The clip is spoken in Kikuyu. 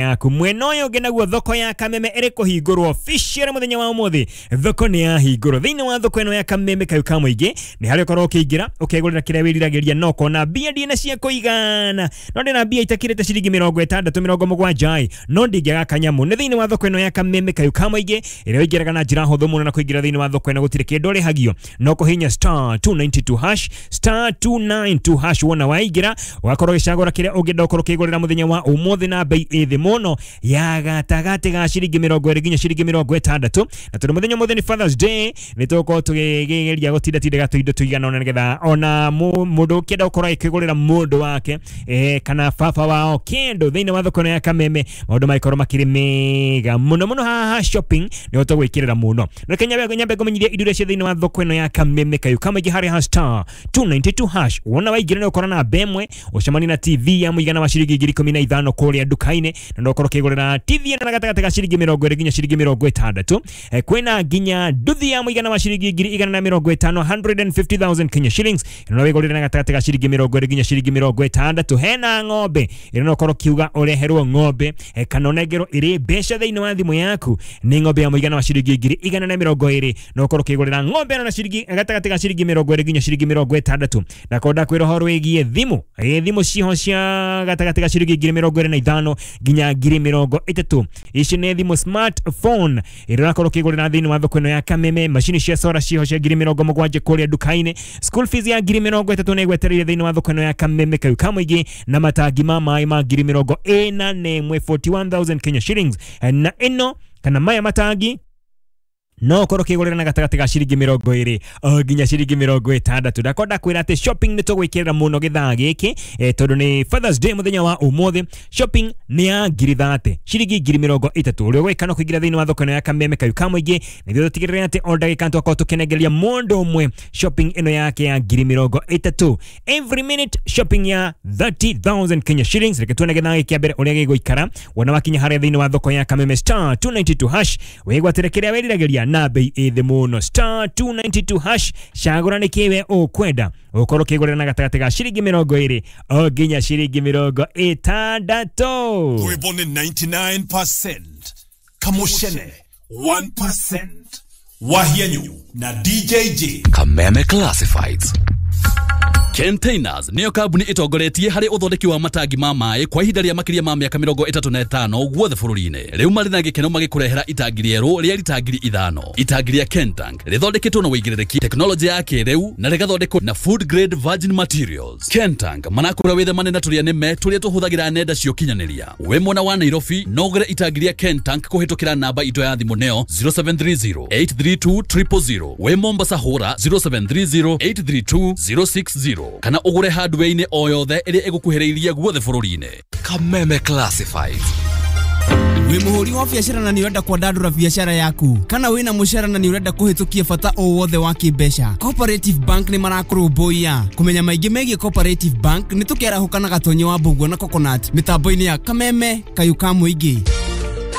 Yaku mwena ũyũ ũngĩ naguo thoko ya Kameme ĩrĩ kũhingũrwo official mũthenya wa ũmũthĩ. Thoko nĩ yahingũrwo. Thĩinĩ wa thoko ĩno ya Kameme kayũ ka mũingĩ nĩ harĩa ũkorwo ũkĩingĩra ũkegũrĩra kĩrĩa wĩriragĩria, no kona mbia ndina cia kũigana, no ndĩna mbia itakĩrĩte ciringi 60 70 ĩ, no ndingĩaga kanyamũ. Nĩ thĩinĩ wa thoko ĩno ya Kameme kayũ ka mũingĩ ĩrĩa ũingĩraga na njĩra hũthũ mũno, na kũingĩra thĩinĩ wa thoko ĩno gũtirĩ kĩndũ ũrĩhagio, no kũhihinya *292#, *292#. Wona waingĩra ũgakorwo ũgĩcagũra kĩrĩa ũngĩenda ũkorwo ũkĩgũrĩra mũthenya wa ũmũthĩ na bei ĩ thĩ mũno ya gatagatĩ ga ciringi 20 nginya ciringi 60. Na tondũ mũthenya ũmũthĩ nĩ Fathers Day, nĩ tũgũkorwo tũkĩgeria gũtindatindĩka tũindo tũigana ũna nĩgetha ona mũndũ ũkĩenda gũkorwo akĩgũrĩra mũndũ wake kana baba wao kĩndũ thĩinĩ wa thoko ĩno ya Kameme, maũndũ magĩkorwo makĩrĩ mega mũno mũno. Haha shopping nĩ tũgwĩkĩrĩra mũno. Reke nyambe ngũmenyithie indo iria cia thĩinĩ wa thoko ĩno ya Kameme kayũ kamaingĩ harĩa ha *292#. Wona waingĩra nĩ ũkora na 1 ũcemanie na TV ya mũigana wa ciringi 15,000 kũrĩa nduka-inĩ, na no ũkorwo ũkĩgũrĩra TV ĩno na gatagatĩ ga ciringi 20 nginya ciringi 60. Kwĩna nginya nduthi ya mũigana wa ciringi 150,000, 150,000 Kenya shillings, ĩno no wĩgũrĩre na gatagatĩ ga ciringi 20 nginya ciringi 60. Hena ng'ombe ĩno, no ũkorwo ũkiuga ũreherwo ng'ombe kana ũnengerwo ĩrĩ mbeca thĩinĩ wa thimũ yaku, nĩ ng'ombe ya mũigana wa ciringi 120,000. No ũkorwo ũkĩgũrĩra ng'ombe ĩno na ciringi gatagatĩ ga ciringi 20 nginya ciringi 60. Na konda kwĩra ũhoro wĩgiĩ thimũ, thimũ ciho cia gatagatĩ ga ciringi 25,000 nginya 30,000. Ici nĩ thimũ smartphone ĩrĩa ũrakorwo ũkĩgũrĩra thĩinĩ wa thoko ĩno ya Kameme. Macini cia solar ciho cia 70,000 kũrĩa nduka-inĩ. School fees ya 30,000 nĩ ĩgwetereire thĩinĩ wa thoko ĩno ya Kameme kayũ ka mũingĩ, na matangi ma maĩ ma 41,000, 41,000 Kenya shillings. Na ĩno kana maya matangi no ũkorwo ũkĩgũrĩra na gatagatĩ ga ciringi 20 o nginya ciringi 60. Ndakonda kwĩra atĩ shopping nĩ tũgwĩkĩrĩra mũno gĩthaa gĩkĩ, tondũ nĩ Fathers Day mũthenya wa ũmũthĩ. Shopping nĩ ya 30,000, ciringi 30,000. Ũrĩa ũgwĩka no kũingĩra thĩinĩ wa thoko ĩno ya Kameme kayũ ka mũingĩ nĩguo tũtigĩrĩre atĩ o ndagĩka twakorwo tũkĩnengeria mũndũ ũmwe shopping ĩno yake ya 30,000, every minute shopping ya 30,000 Kenya shillings. Reke tuone gĩthaa gĩkĩ kĩa mbere ũrĩa gĩgũikara. Wona wakinya harĩa thĩinĩ wa thoko ya Kameme, *292#, wĩgwatĩre kĩrĩa wĩriragĩria na bei ĩ thĩ mũno. *292#, cagũra nĩ kĩwe ũkwenda ũkorwo ũkĩgũrĩra na gatagatĩ ga ciringi 20 o nginya ciringi 60. Rwĩmbo nĩ 99%, Kamushene 1%, Wahianyu na DJJ. Kameme Classifieds. Containers nĩyo kambuni ĩtongoretie harĩ ũthondeki wa matangi ma maĩ kwa ihinda rĩa makĩria ma mĩaka 35 guothe bũrũri-inĩ. Rĩu marĩ na gĩkeno magĩkũrehera itangi rĩerũ rĩa rita 5,000. Itangi rĩa Kentank rĩthondeketwo na wĩigĩrĩrĩki, tekinoronjĩ ya kĩrĩu, na rĩgathondekwo na food grade virgin materials. Kentank marakũra wĩthemane na tũrĩa nĩme tũrĩa tũhũthagĩra nenda cia ũkinyanĩria. Wĩ mwena wa Nairobi no ũgũre itangi rĩa Kentank kũhĩtũkĩra namba itũ ya thimũ, nĩyo 0730 832 000. Wĩ Mombasa hũra 0730 832 060 kana ũgũre hardware-inĩ o yothe ĩrĩa ĩgũkuhĩrĩirie guothe bũrũri-inĩ. Kameme Classifieds. Wĩ mũhũri wa biacara na nĩ ũrenda kwandandũra biacara yaku, kana wĩna mũcara na nĩ ũrenda kũhĩtũkia bata o wothe wa kĩmbeca, Cooperative Bank nĩ marakũrũmbũiya. Kũmenya maingĩ megiĩ Cooperative Bank nĩ tũkĩarahũka na Gatonyo wa Mbũguo na Coconut mĩtambo-inĩ ya Kameme kayũ ka mũingĩ.